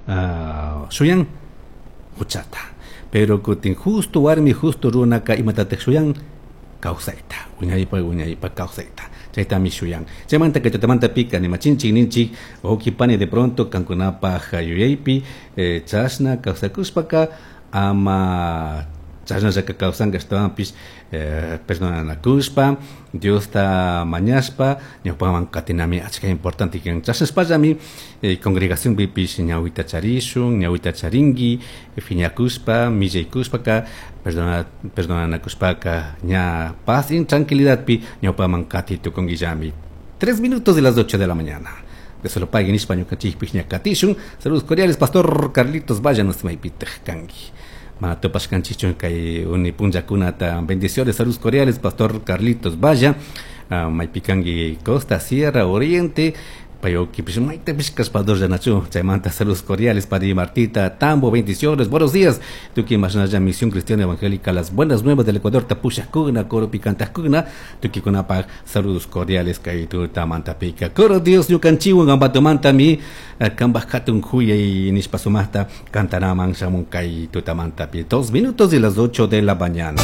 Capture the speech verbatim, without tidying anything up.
uh, shuyan huchata. Pero kutin justo warmi justo runaka imatatak shuyan kawsayta, wiñaypa wiñaypa kawsayta. Chaytami shuyan. Chaymanta kay tutamanta pika nimachinchik ninchik wawqi pani de pronto kankunapaj yuyaypi eh, chashna kawsakushpaka ama chashnallaka kawsanka ashtawanpish eh, perdonanakushpa Diosta mañashpa ñawpaman katinami achka importante kan chashnashpallami eh, congregacionpipish ñawita charishun ñawita charinki phiñakushpa millaykushpaka perdona perdonanakushpaka ña paz y tranquilidadpi ñawpaman kati tukunkillami. Tres minutos de las ocho de la mañana. De solo paguen nishpa ñukanchikpik ña katishun. Saludos cordiales, Pastor Carlitos Vaya, maypitaq kanki. Mana tupashkanchikchu kay uni punllakunata. Bendiciones, saludos cordiales, Pastor Carlitos Vaya. Uh, maypi kanki Costa, Sierra, Oriente. Payukipish maytapish kashpador llanachu. Chaymanta saludos cordiales para Martita Tambo, bendiciones, buenos días. Tukuy mashnalla Misión Cristiana Evangélica, las buenas nuevas del Ecuador, tapushakuna, coropi kantakuna, tukuykunapaj saludos cordiales kay tutamantapika. Coro Dios ñukanchikwan ambatumantami kambaj hatun kuyay nishpa sumajta kantanaman shamun kay tutamantapi. Dos minutos de las ocho de la mañana.